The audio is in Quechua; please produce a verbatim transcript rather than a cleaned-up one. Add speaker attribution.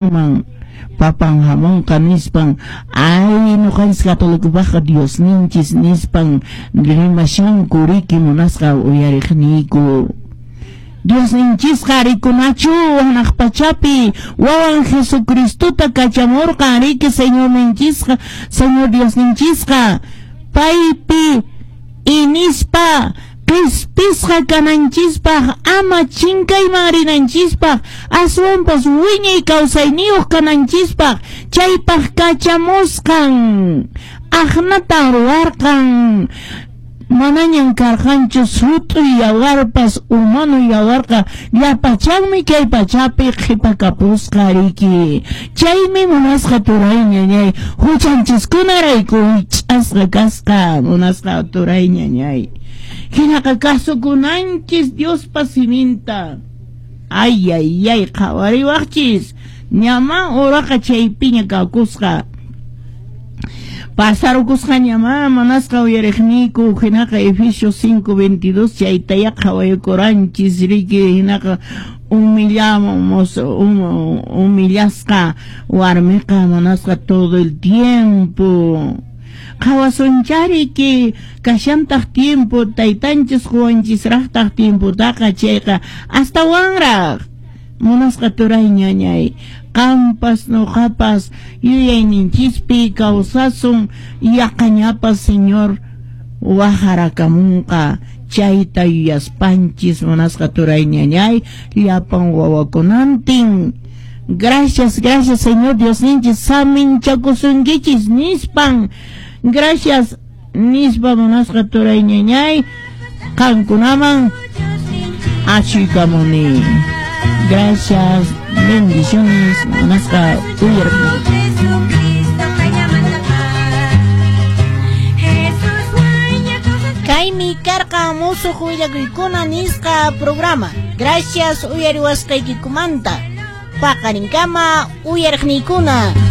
Speaker 1: Man papan hamunqa nispan, ay ñuqanchis katolikopaqqa Diosninchis nispan rimashanku riki munasqa uyariqniyku. Diosninchisqa rikunachu hanaq pachapi wawan Jesucristota kachamurqan riki Señorninchisqa, Señor Diosninchisqa paypi inispa qispisqa kananchispaq, ama chinkayman rinanchispaq, aswanpas wiñay kawsayniyuq kananchispaq, chaypaq kachamusqan aqnatan ruwarqan. Manañan karqanchu sut'uy yawarpas, humano yawarqa llapachanmi kay pachapi qhipakapusqa riki. Chaymi munasqa turay ñañay huchanchiskunarayku wich'asqa kasqa munasqa turay ñañay. Hinaqa kasukunanchis Diospa siminta. Ay, ay, ay, qhawariwaqchis. Ñaman uraqa chaypiña kakusqa. Pasarukusqa ñama manasqa uyariqniyku. Hinaqa Efesios cinco veintidós chaytaya qhawaykuranchis riki. Hinaqa humillamos, hum, humillasqa warmiqa manasqa todo el tiempo. Qhawasunchariki kashantaq tiempo taytanchis quwanchisraqtaq tiempotaqa chayqa astawanraq munasqa turay ñañay qampas nuqapas yuyayninchispi kawsasun yaqañapas Señor wajarakamunqa chayta yuyaspanchis munasqa turay ñañay llapan wawakunantin. Gracias, gracias Señor Diosninchis saminchakusunkichis nispan. Gracias nispa munasqa turay ñañay qankunaman achuykamuni. Gracias, bendiciones munasqa uyarqani. Kaymi karqa musuq willakuykuna nisqa programa. Gracias uyariwasqaykikumanta. Paqarinkama uyariqniykuna.